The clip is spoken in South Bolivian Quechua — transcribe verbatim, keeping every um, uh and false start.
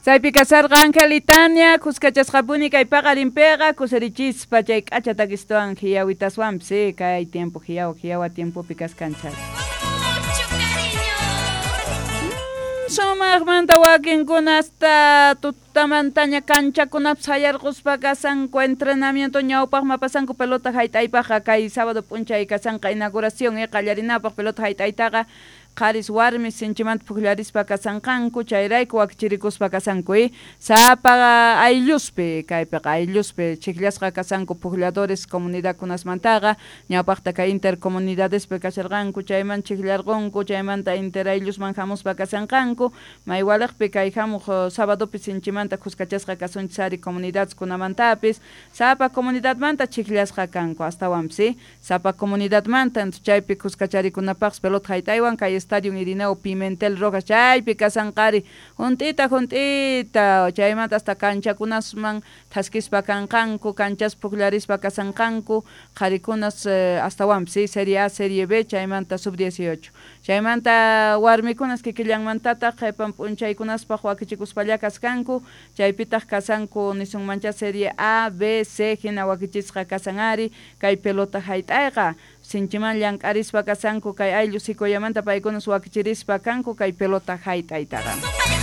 Chaypi kasarqa Ángel y Tania, kuskachasqapuni kay paqarinpiqa kusirichispa chay k'acha takistuwan hiyawitaswanpis eh, kay tiempo hiyawa hiyawa tiempopi kaskanchik. Mucho cariño. Sumaqmanta wakinkuna hasta tutamantaña kanchakunapi sayarquspa kasanku entrenamiento ñawpaqman pasanku pelota hayt'aypaqqa kay sábado p'unchay kasanqa inauguración eh, qallarinapaq pelota hayt'aytaqa qharis warmis sinchimanta pukllarispa kasanqanku chayrayku wakichirikuspa kasanku eh. Sapa aylluspi kaypiqa aylluspi chiqllasqa kasanku puklladores comunidadkunasmantaqa ñawpaqta kay intercomunidadespi kasharqanku chayman chiqllarqunku chaymanta interayllusman hamuspa kasanqanku maywaliqpi kay hamuq sabadopi sinchimanta kuskachasqa kasunchis ari comunidadeskunamantapis sapa comunidadmanta chiqllasqa kanku astawanpis eh. Sapa comunidadmanta chaypi kuskacharikunapaqpis pelota hayt'aywan kay Estadio Irineo Pimentel Rojas chaypi kasanqari hunt'ita hunt'ita chaymanta hasta kanchakunasman thaskispa kanqanku kanchas pukllarispa kasanqanku qharikunas eh, astawanpis eh, Serie A, Serie B chaymanta sub dieciocho chaymanta warmikunas kikillanmantataq qhipan p'unchaykunaspaq wakichikuspalla kaskanku chaypitaq kasanku nisunmancha Serie A, B, C hina wakichisqa kasan ari kay pelota hayt'ayqa sinchiman llank'arispa kasanku kay ayllu Sicoyamanta paykunas wakichirispa kanku kay pelota hayt'aytaqa.